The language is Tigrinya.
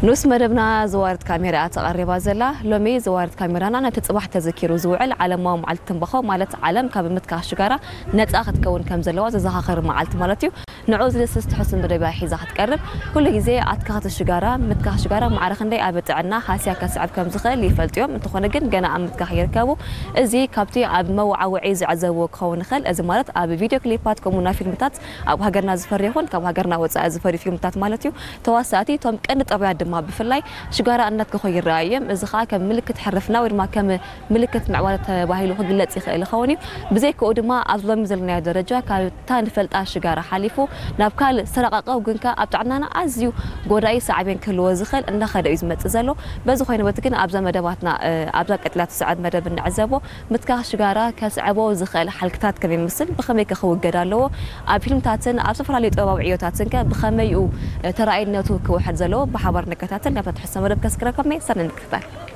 ንኡስ መደብና ዘዋርድ ካሜራ እያ ተቐሪባ ዘላ። ሎሚ ዘዋርድ ካሜራና ነቲ ጽባሕ ተዘኪሩ ዝውዕል ዓለማዊ መዓልቲ ትንባኾ፣ ማለት ዓለም ካብ ምትካኽ ሽጋራ ነጻ ክትከውን ከም ዘለዋ ዘዘኻኽር መዓልቲ ማለት እዩ። ንዑ ዝድስስ ትሕዝቶ መደብ እያ ሒዛ ክትቀርብ። ኩሉ ግዜ ኣትካኽቲ ሽጋራ፣ ምትካኽ ሽጋራ ማዕረ ክንደይ ኣብ ጥዕና ሃስያ ከስዕብ ከም ዝኽእል ይፈልጡ እዮም። እንተኾነ ግን ገና ኣብ ምትካኽ ይርከቡ። እዚ ካብቲ ኣብ መወዓውዒ ዝዕዘብዎ ክኸውን ይኽእል። እዚ ማለት ኣብ ቪድዮ ክሊፓት ከምኡ ናብ ፊልምታት ኣብ ሃገርና ዝፈሪ ይኹን ካብ ሃገርና ወጻኢ ዝፈሪ ፊልምታት ማለት እዩ። ተዋሳእቲ እቶም ቀንዲ ጠባያት ድማ ብፍላይ ሽጋራ እናትከኹ ይረኣዩ እዮም። እዚ ኸኣ ከም ምልክት ሕርፍና ወይ ድማ ከም ምልክት ምዕባለ ተባሂሉ ክግለጽ ይኽእል ይኸውን እዩ። ብዘይክኡ ድማ ኣብዚ ሎሚ ዘለናዮ ደረጃ ካብታ ንፈልጣ ሽጋራ ሓሊፉ ናብ ካልእ ዝተራቐቐ ግን ከኣ ኣብ ጥዕናና ኣዝዩ ጎዳኢ ሳዕቤን ክህልዎ ዝኽእል እንዳኸደ እዩ ዝመጽእ ዘሎ። በዚ ኮይኑ በቲ ግን ኣብዛ መደባትና፣ እ፣ ኣብዛ ቀጥላ ትስዕብ መደብ እንዕዘቦ ምትካኽ ሽጋራ ከስዕቦ ዝኽእል ሓልክታት ከመይ ይመስል፣ ብኸመይ ከ ክውገድ ኣለዎ፣ ኣብ ፊልምታትን ኣብ ዝተፈላለዩ ጥበባዊ ዕዮታትን ከ ብኸመይ እዩ፣ እ፣ ተራኣይነቱ ክውሕድ ዘለዎ ብሓባር ንከታተል። ናብታ ትሕዝቶ መደብ ከስግረኩም እየ። ሰኒ ንክታተል።